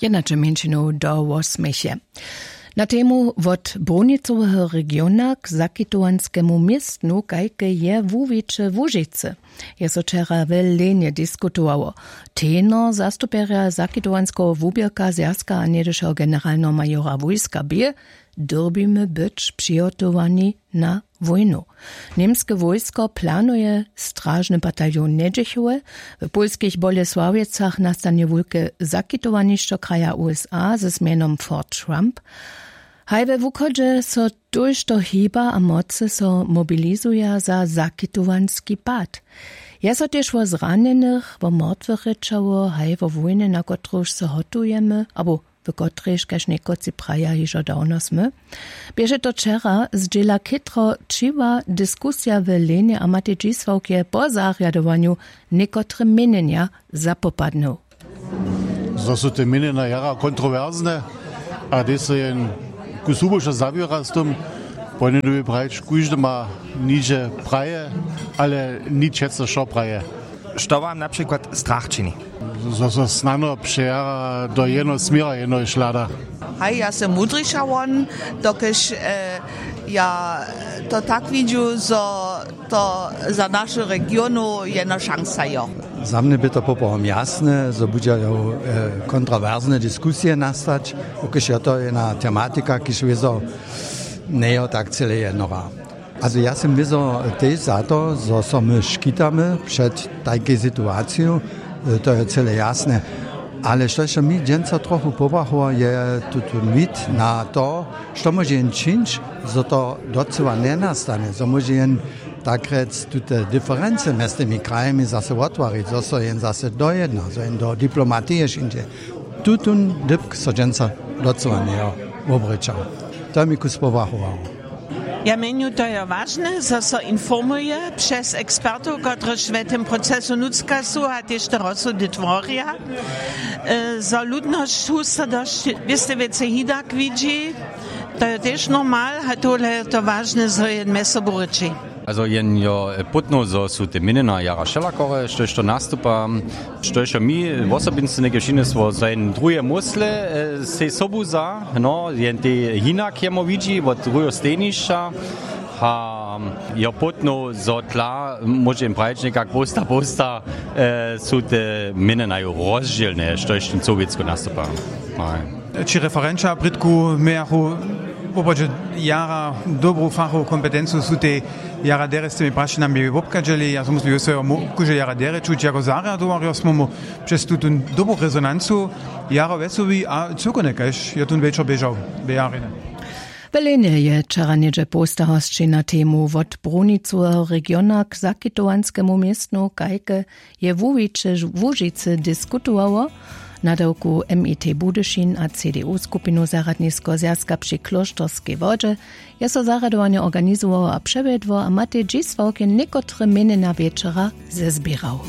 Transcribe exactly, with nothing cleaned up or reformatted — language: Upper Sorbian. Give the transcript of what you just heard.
Jednaće mjeńšinow do wosměch je. Na temu wot brunicoweho regiona k zakitowanskemu městnu kajke je wuwiće łužicy je so wčera w lenje diskutowało. Tenor zastupjerja zakitowanskeho wuběrka zwjazka a njedyšeho generalneho majora wójska bě, dyrbimy być přihotowani na wójnu. Němske wójsko planuje stražny bataljon njedźechowe. W pólskich bolesławjecach nastanje wulke zakitowanišćo kraja usa ze zmjenom fort trump. Haj we wuchodźe so tójšto hiba a mocy so mobilizuja za zakitowanski pad. Je so tež wo zranjenych wo mortwych rěčało haj wo wójnje na kotruž so hotujemy abo w kotrejž kaž někotři praja hižo dawno smy. Běše to wčera zdźěla chětro tšiwa diskusija w lenje a matej dźisławkje po zarjadowanju někotre měnjenja zapopadnył. Zo su te měnjenja jara kontrowersne a hdyž so jen ku subušo zawěra z tym, pojnjedubi prajić kóždy ma niže praje, ale nic přeco wšo praje. Što wam na přikład strach čini? Zo so snano přejara do jednoho směra jednoho šlada. Haj, ja sym mudriša won, dokelž ja to tak widźu, zo to za našu regionu jedna šansa jo. Za mnje by to poprawom jasne, zo budźajo kontrowersne diskusije nastać, dokelž jo to jedna tematika kiž wězo njejo tak cyle jednora. Also ja sym wězo tež za to, zo so my škitamy před tajkej situaciju, to je cyle jasne. Ale štož so mi dźensa trochu pobrachował je tutón wid na to, što móže jen čińć, zo to docyła njenastanje, zo móže jen tak rjec tute diferency mjez tymi krajemi zaso wottwarić, zo so jen zaso dojedna, zo jen do diplomatije šindźe. Tutón dypk so dźensa docyła njejo wobrěčał. To je mi kus pobrachowało. Ja mjenju to je wažne zo so informuje přez ekspertow kotryž w tym procesu nutřka su a tež te rozsudy tworja, zo ludnosć husto dosć wěste wěcej hidak widźi. To je tež normal a tohle je to wažne zo je mjez sobu rěči. Also jen jo pótnow zo su te měnjena jara wšelakore štož to nastupa, štož jo mi wosobinsce něke wšinestwo zo jen druhe mósle sej sobu za no jen te hinak jemu widźi wot druheho stejnišća. A jo pótnow zo tla móže jim prajić někak połsta połsta su te měnjena jo rozdźělne štož ten sowjetsko nastupa. Ći referenća prědku mějachu woprawdźe jara dobru fachowu kompetencu su tej jara derje z tymi prašenjami wobchadźeli ja so muslim jo so jo kóžde jara derje čuć jako zarjadowarjo smy mu přez tutón dobru rezonancu jara wjesołi a cyłkownje kaž jo tón wječor běžał. Bě jara rjeny. W lenje je wčera něhdźe połsta hosćej na temu wot brunicoweho regiona k zakitowanskemu městnu kajke je wuwiće łužicy diskutowało. Nadawku mit budyšin a cdu skupinu zarjadniskeho zwjazka při klóšterskej wodźe je so zarjadowanje organizowało a přewjedło a matej dźisławk je někotre měnjena wječora zezběrał.